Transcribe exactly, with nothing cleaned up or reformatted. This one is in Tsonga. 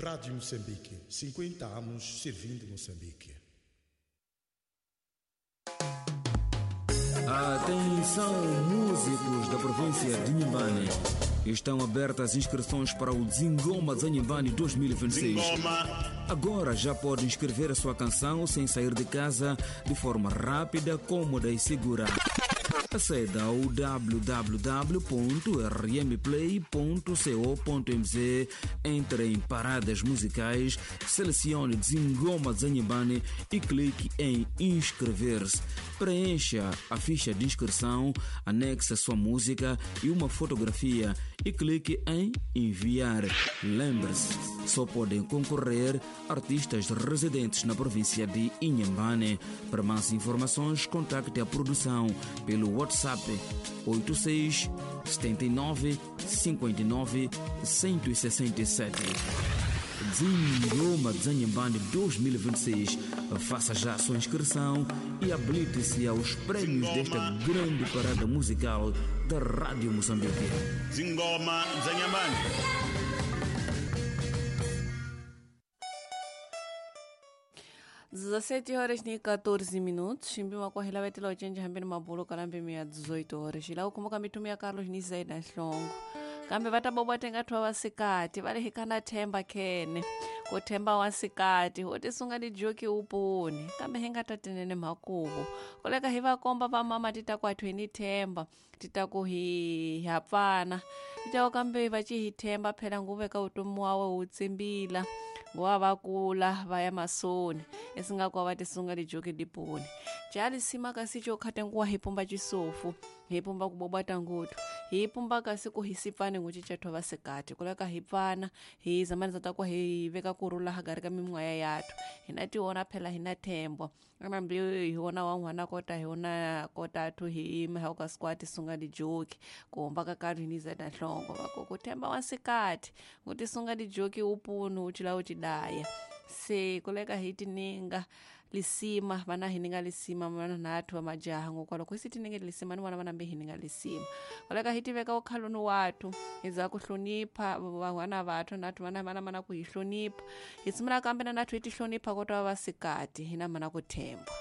Rádio Moçambique, cinquenta anos servindo Moçambique. Atenção, músicos da província de Inhambane. Estão abertas as inscrições para o Zingoma Zanhambane dois mil e vinte e seis. Agora já pode inscrever a sua canção sem sair de casa, de forma rápida, cômoda e segura. Aceda ao w w w ponto r m play ponto co ponto m z, entre em paradas musicais, selecione Zingoma Zanhambane e clique em inscrever-se. Preencha a ficha de inscrição, anexe a sua música e uma fotografia e clique em enviar. Lembre-se, só podem concorrer artistas residentes na província de Inhambane. Para mais informações, contacte a produção pelo WhatsApp oito seis, setenta e nove, cinquenta e nove, cento e sessenta e sete. Zingoma Zanhambane dois mil e vinte e seis. Faça já a sua inscrição e habilite-se aos prêmios desta grande parada musical da Rádio Moçambique. Zingoma Zanhambane. dezessete horas e quatorze minutos. Ximbima kwa hila vetela ochenja hambeni mabulo kalambe mia dezoito horas. Ila ukumbuka mitumia Carlos Nizaida Nhlongo. Kambe vatabobwa tengatwa vasikati vale hikana themba khene ku themba wasikati u tisunga tijoki uponi kambe hi nga ta tinene mhakuvo koleka hi va komba va mama ti ta ku athu hi ni themba ti ta ku hi hapfana ti ta ku kambe va ci hi themba phela nguve ka vutomi wa we wu tsimbila nguva va kula va ya masoni esingaku va tisunga tijoki diponi jalisima kasi co khate nguwa hi pumba cisofu hi pumba ku bobata nguthu hi pumba kasi ku hi sipfane ngucicetho vasikati kuleka hi pfana hi zamani za ta ku hi veka kurhula hagari ka mimwaya yathu hina tiona phela hina thembo anambi hi wona wa n'wana kota hi wona kota thu hi yima hi ka sikwati sunga tijoki ku humba ka karhi hi niza ta nhlongo va ku ku themba wasikati ngu tisunga tijoki upunu u cila u tidaya se kuleka hi tininga lisima vana hininga lisima vana nathu va majaha ngokwalo ku si tininge lisima ni vona vana mbe hininga lisima koleka hi tiveka ukhaloni wathu hi za ku hlonipha van'wana vathu nathu vana vana mana ku hi hlonipha hi sungula kambe na nathu hi ti hlonipha kota va vasikati hina mana ku themba.